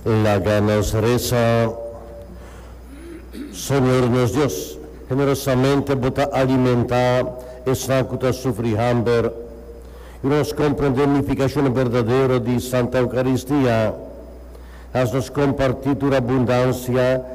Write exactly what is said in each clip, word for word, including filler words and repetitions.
Laga nos resa. Señor nos Dios, generosamente Bo ta alimentá esnan ku ta sufri hamber i nos komprondé nifikashon berdadero di Santa Eukaristia. Hasi nos kompartí tur abundansia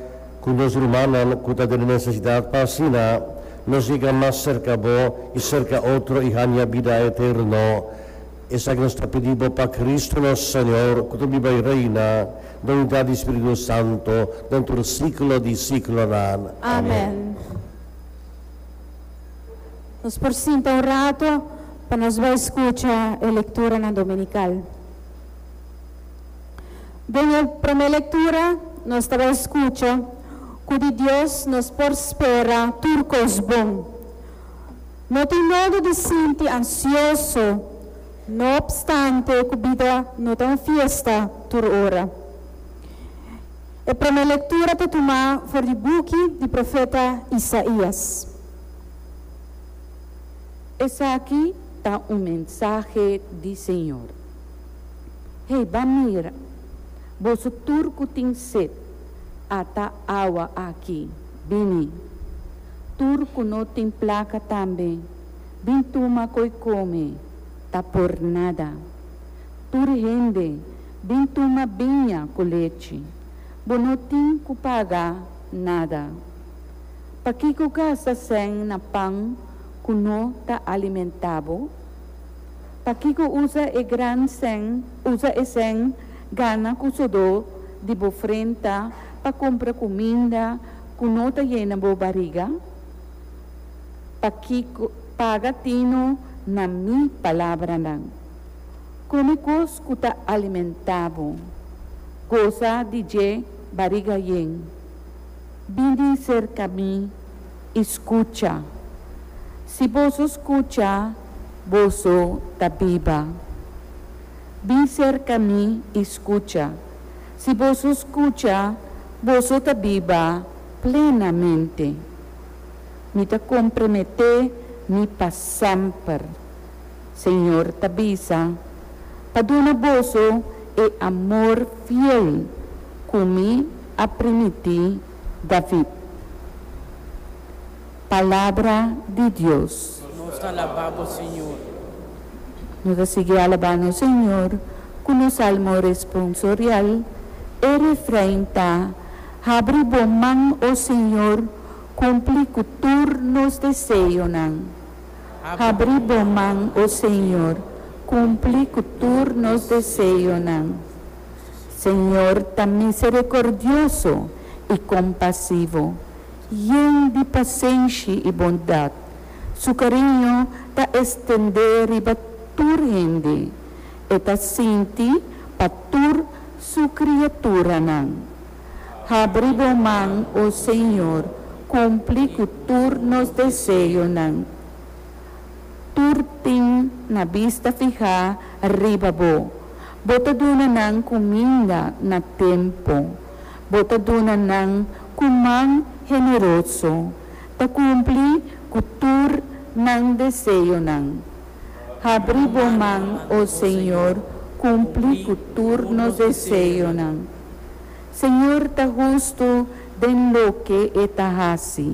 ku nos rumannan ku ta den nesesidat, pa asina nos yega mas serka Bo i serka otro i haña bida eterno. Esaki nos ta pidi pa Kristu nos Señor, ku ta biba i reina, den unidat di Spiritu Santu, den siglo di siglonan. Amèn. Nos por sinta un ratu pa nos bai skucha e lekturanan dominikal. Den e promé lektura, nos tabata skucha ku di Dios nos por spera tur kos bon. No tin nodi di sinti ansioso, no opstante ku bida no ta un fiesta tur ora. E promé lektura ta tumá for di buki di profeta Isaías. Esaki ta un mensahe di Señor. Hey, ban mira, boso tur ku tin set, ata awa aki, bini. Tur ku no tin plaka tambe, bin tuma ko'i kome, ta por nada. Tur hende, bin tuma biña ku lechi, bo no tin ku paga nada. Pakiko gasta sèn na pan ku no ta alimentá bo? Pakiko usa e gran sèn, usa e sèn ganá ku sodó di bo frenta pa kumpra kuminda ku no ta yena bo barika? Pakiko paga tinu na mi palabranan? Kome kos ku ta alimentá bo. Gosa di dje barika yen. Bini serka mi i skucha. Si boso skucha, boso ta biba. Bin serka mi i skucha. Si boso skucha, boso ta biba plenamente. Mi ta komprometé mi pa semper. Señor ta bisa, pa duna boso e amor fiel ku mi a primintí David. Palabra di Dios. Nos ta alabá Bo, Señor. Nos ta sigui alabando Señor ku nos salmo responsorial. E refrein ta: Habri bo man, o Señor, kumpli ku tur nos deseonan. Habri bo man, o Señor, kumpli ku tur nos deseonan. Señor ta miserikordioso i kompasivo, yen di pasenshi i bondat. Su kariño ta ekstendé riba tur hende. E ta sinti pa tur su kriaturanan. Habri bo man, o Señor, kumpli ku tur nos deseonan. Tur tin nan bista fihá riba bo. Bo ta duna nan kuminda na tempu. Bo ta duna nan ku man generoso. Ta kumpli ku tur nan deseonan. Habri bo man, o Señor, kumpli ku tur nos deseonan. Señor ta hustu den loke e ta hasi,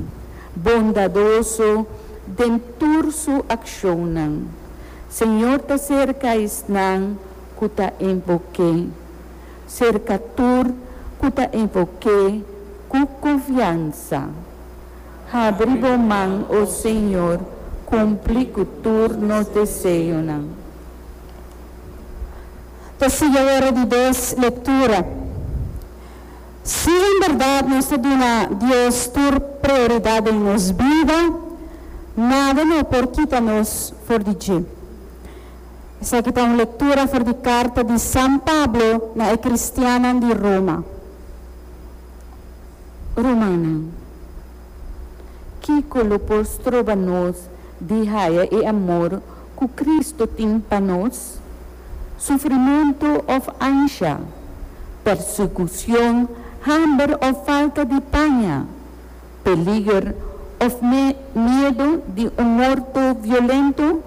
bondadoso den tur su akshonnan. Señor ta serka esnan ku ta invok'é, serka tur ku ta invok'é ku konfiansa. Habri bo man, o Señor, kumpli ku tur nos deseonan. Ta sigui awor di dos lektura. Si en berdat nos ta duna Dios tur prioridat den nos bida, nada no por kita nos for di dje. Esaki ta un lektura for di karta di San Pablo na e kristiannan di Roma. Rumannan, kiko lo por stroba nos di haya e amor ku Kristo tin pa nos? Sufrimentu òf ansha, persekushon, hamber òf falta di paña, peliger òf me miedu di un morto violento?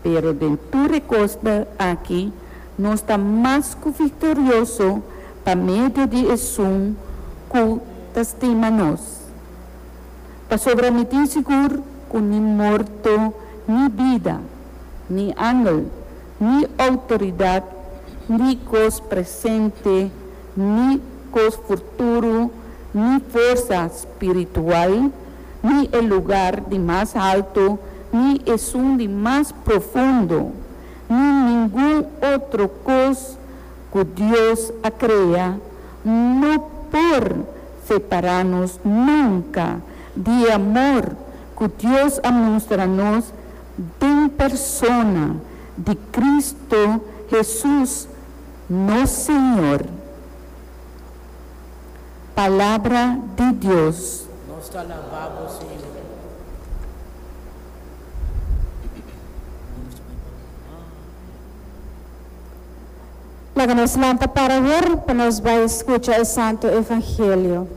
Pero den tur kos aki, nos ta mas ku viktorioso Pa medio di esun ku ta stima nos. Pasobra mi tin sigur ku ni morto, ni bida, ni angel, ni outoridat, ni kos presente, ni kos futuro, ni forsa spiritual, ni e lugá di mas haltu, ni esun di mas profundo, ni ningun otro kos ku Dios a krea, no por separá nos nunka di amor ku Dios a mustra nos den persona di Kristu Hesus, nos Señor. Palabra di Dios. Nos ta alabá bo, Señor. Laga nos lanta para awor, pa nos bai skucha e Santu Evangelio.